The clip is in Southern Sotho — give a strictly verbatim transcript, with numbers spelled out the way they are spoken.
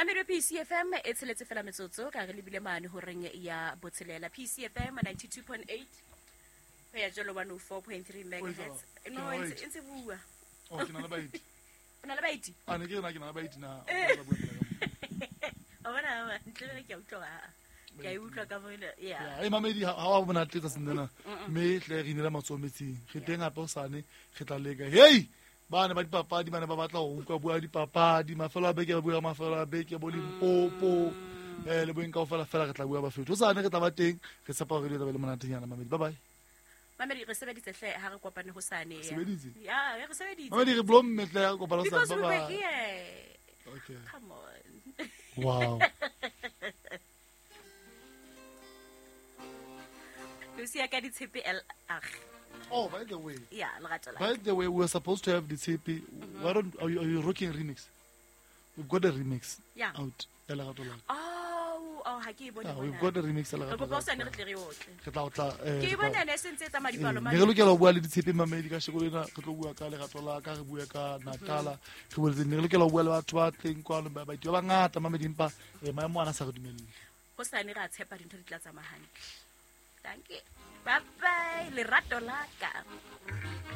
Mamedi P C F M e tsheletse fela metsotso ka re lebile mane horeng ya botshelela. P C F M ninety-two point eight ho ya jalo one oh four point three megahertz. No, e ntse bua. Oh, ke na le baeti. O na le baeti? A ne ke rena ke na le baeti na. O bona ntle le ke a utlwa. Ke a utlwa ka bona. Yeah. Yeah, e mamedi ha wa bona tletsa sendena. Mme tle re inela matsoho metsing. Re teng hape o sane re tla leka. Hey! Ba ne ba dipapadi ba ne ba batla ho utlwa bua dipapadi mafelo a beke ba bua mafelo a beke bo Limpopo eh le boeng kaofela fela re tla bua ba fetho. O sane re tla ba teng re tshepa hore re tla be le monatenyana mamedi. Bye bye. Mamedi re sebeditse hle ha re kopane ho sane. Sebeditse? Yeah, re sebeditse. Mamedi re blomme hle ha re kopane ho sane. Because we were here. Okay. Come on. Wow. Lucia ka ditshepe L R. Oh, by the way. Yeah, lerato la. By the way, we were supposed to have the Tshepe. Mm-hmm. Why don't are you, are you rocking remix? We've got a remix. Yeah. Out. Ya lerato la. Oh, oh, ha ke e bone. Yeah, we've got a remix ya lerato la. Re kopa o re tle re otle. Re tla otla eh. Ke e bone ne se ntse tsa madipalo mane. Ne re lokela ho bua le ditshepe mamedi ka sheko lena re tlo bua ka lerato la ka re bua ka Natala. Re boletse ne re lokela ho bua le batho ba teng kwano ba baeti ba bangata mamedi empa maemo ana sa re dumelle. Ho sane re a tshepa dintho di tla tsamaya hantle. Thank you. Bye bye. Lerato la ka.